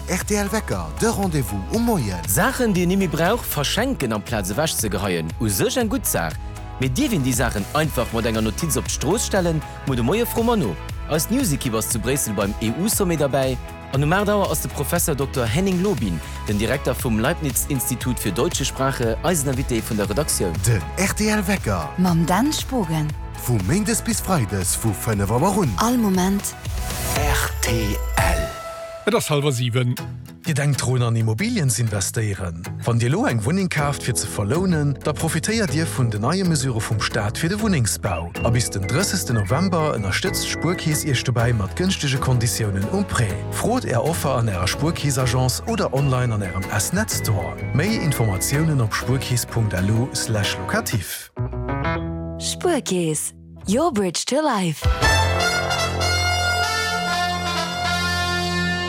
rtl Wecker, de Rendez-vous um Moien. Saachen, déi een nimmi brauch, verschenken amplaz ewech ze geheien, u sech eng gutt Saach. Mee dierf een déi Saachen einfach mat enger Notiz op d'Strooss stellen? Muer de Moie froe mer no. Eis News-Ekipp ass zu Bréissel beim EU-Sommet derbäi. An um 8 Auer ass de Professer Dokter Henning Lobin, den Direkter vum Leibniz-Institut für Deutsche Sprache, eisen Invité vun der Redaktioun. Den rtl Wecker. Mam Dan Spogen. Vu Méindes bis Freides vu 5 Auer un. All Moment. Rtl. Et ass hallwer 7. Dir denkt drun an Immobilien z'investéieren? Wann Dir elo eng Wunneng kaaft fir ze verlounen, da profitéiert Dir vun den neie Mesure vum Staat fir de Wunnengsbau. A bis den 30 November ënnerstëtzt d'Spuerkeess Iech dobäi mat gënschtege Konditiounen um Prêt. Frot Är Offer an Ärer Spuerkeess-Agence oder online an Ärem S-Net Store. Méi Informatiounen op spuerkeess.lu/locatif. Spuerkeess, your bridge to life.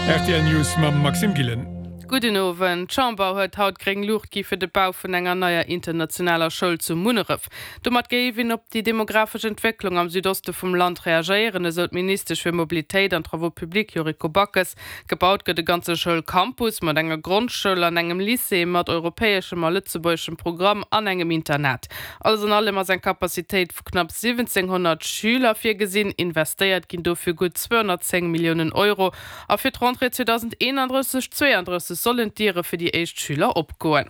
Rtl News mam Maxime Gillen. Gudden Owend. D'Chamber huet haut gréng Luucht gi fir de Bau vun enger neier internationaler Schoul zu Munneref. Domat géif een op déi demografesch Entwécklung am Südoste vum Land reagéieren, esou d'Ministesch fir Mobilitéit an Travaux publics Yuriko Backes. Gebaut gëtt e ganze Schoulcampus mat enger Grondschoul an engem Lycée mat europäeschem a lëtzebuergeschem Programm an engem Internat. Alles an allem ass eng Capacitéit vu knapps 1.700 Schüler virgesinn. Investéiert ginn dofir gutt 210 Milliounen Euro. A fir d'Rentrée 2031, 32 sollen d'Diere fir déi éischt Schüler opgoen.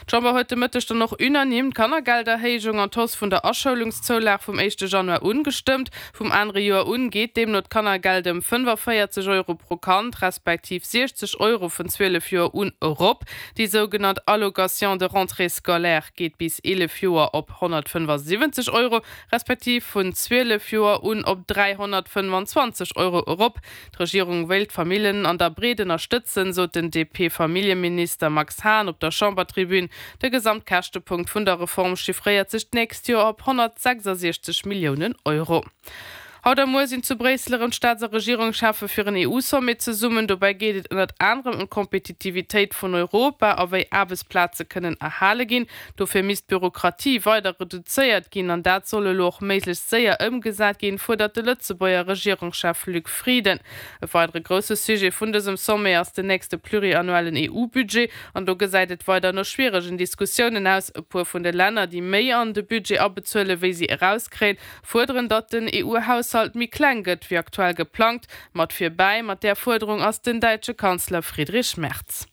D'Chamber huet de Mëtteg dann och unanime d'Kannergelderhéijung an d'Hausse vun der Aschoulungszoulag vum éischte Januar un gestëmmt. Vum anere Joer un geet deemno d'Kannergeld ëm 45 Euro pro Kand, respektiv 60 Euro vun 12 Joer un erop. Déi sougenannt Allocation de rentrée scolaire geet bis 11 Joer op 175 Euro, respektiv vun 12 Joer un op 325 Euro erop. D'Regierung wéilt d'Famillen an der Breet ënnerstëtzen, sot den DP-Familljeminister Max Hahn op der Chambertribün. De Gesamtkäschtepunkt vun der Reform chiffréiert sech d'nächst Joer op 166 Milliounen Euro. Haut a muer sinn zu Bréissel erëm d'Staats a Regierungscheffe fir en EU-Sommet zesummen. Dobäi geet et ënnert anerem ëm d'Kompetitivitéit vun Europa a wéi Aarbechtsplaze kënnen erhale ginn. Dofir misst d'Bürokratie weider reduzéiert ginn an dat soll elo och méiglechst séier ëmgesat ginn, fuerdert de Lëtzebuerger Regierungschef Luc Frieden. E weidere grousse Sujet vun dësem Sommet ass den nächste pluriannuellen EU-Budget an do gesäit et weider no schwieregen Diskussiounen aus. E puer vun de Länner, déi méi an de Budget abezuele wéi si erauskréien, fuerderen, datt den EU-Haushalt méi kleng gëtt wéi aktuell geplangt. Mat virbäi mat där Fuerderung ass den däitsche Kanzler Friedrich Merz.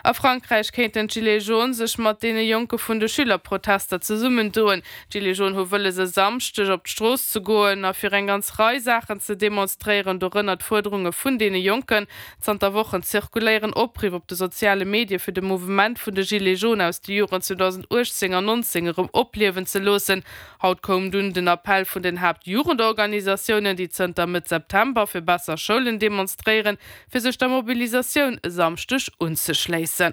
A Frankräich kéinten d'Gilets jaunes sech mat deene Jonke vun de Schülerprotester zesummendoen. D'Gilets jaunes hu wëlles e Samschdeg op d'Strooss ze goen a fir eng ganz Rei Saachen ze demonstréieren, dorënner d'Fuerderunge vun deene Jonken. Zanter Wochen zirkuléieren Opriff op de soziale Medie fir de Mouvement vun de Gilets jaunes aus de Joren 2018 an 19 erëm opliewen ze loossen. Haut koum dunn den Appell vun den Haaptjugendorganisatiounen, déi zënter Mëtt September fir besser Schoulen demonstréieren, fir sech der Mobilisatioun e Samschdeg unzeschléissen. A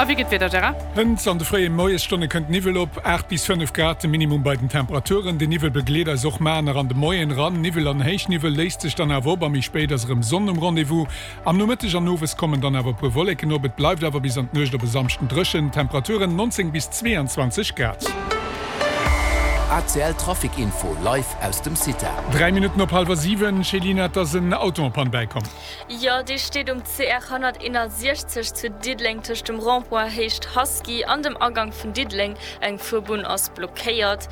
wéi gëtt d'Wieder, Gérard? Hënt an de fréie Moiesstonne kënnt Niwwel op, 8 bis 5 Grad de Minimum bei den Temperaturen. Den Niwwel begleet eis och mar nach an de Moien eran. Niwwel an Héichniwwel léist sech dann awer op a méi spéit ass erëm Sonn um Rendez-vous. Am Nomëtteg an Owes kommen dann awer e puer Wolleken op, et bleift awer bis an d'Nuecht op e Samschden dréchen. Temperaturen 19 bis 22 Grad. ACL Trafic Info live aus dem CITA. 3 Minutten op hallwer 7, Céline, et ass en Auto en panne bäikomm. Jo, dee steet um CR 161 zu Diddeleng tëscht dem Rond-point Héicht Husky an dem Agank vun Diddeleng. Eng Fuerbunn ass blockéiert.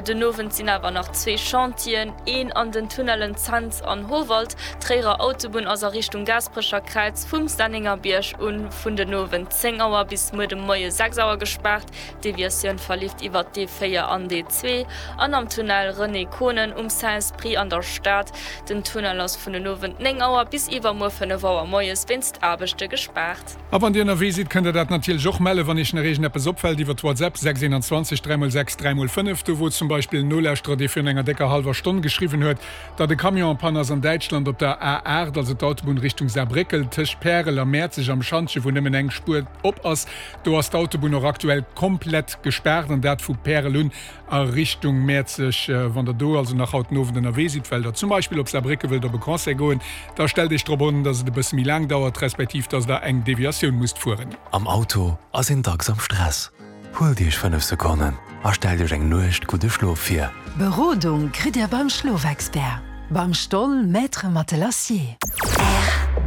Den Owend sinn awer nach zwee Chantieren, een an den Tunnellen Cents an Howald. D'Tréierer Autobunn ass a Richtung Gaasperecher Kräiz vum Sennengerbierg un vun den Owend 10 Auer bis muer de Moie 6 Auer gespaart. D'Deviatioun verleeft iwwert d'E4 an d'E2 an am Tunnel René Konen um Saint-Esprit an der Stad. Den Tunnel ass vun den Owend 9 Auer bis iwwermuer 5 Auer moies wéinst Aarbechte gespaart. A wann Dir ënnerwee sidd, kënnt der dat natierlech och mellen, wann Iech nach iergendeppes opfält, iwwert WhatsApp 6 21 3 x 6 3 x 5. Do wor zum Beispill en Nolauschterer, dee virun enger décker hallwer Stonn geschriwwen huet, datt e Camion en panne ass an Däitschland op der A8, also d'Autobunn Richtung Saarbréckel, tëscht Pärel a Mäerzeg am Schantje, wou nëmmen eng Spuer op ass. Do ass d'Autobunn och aktuell komplett gespaart an dat vu Pärel un a Richtung Mäerzeg. Wann der do also nach haut den Owend ënnerwee sidd, well der zum Beispill op Saarbrécke wëllt op e Concert goen, da stellt Iech drop an, dass et e bësse méi laang dauert, respektiv dass der eng Deviatioun musst fueren. Am Auto ass een dacks am Stress. Huelt Iech 5 Sekonnen a stellt Iech eng Nuecht gudde Schlof vir. Berodung kritt Dir beim Schlofexpert, beim Stoll Maître Matelassier.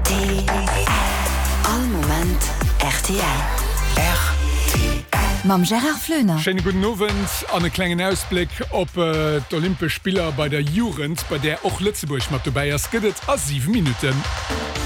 All Moment rtl. Rtl. Mam Gérard Floener. Schéine gudden Owend an e klengen Ausbléck op d'Olympesch Spiller bei der Jugend, bei där och Lëtzebuerg mat dobäi ass, gëtt et a 7 Minutten.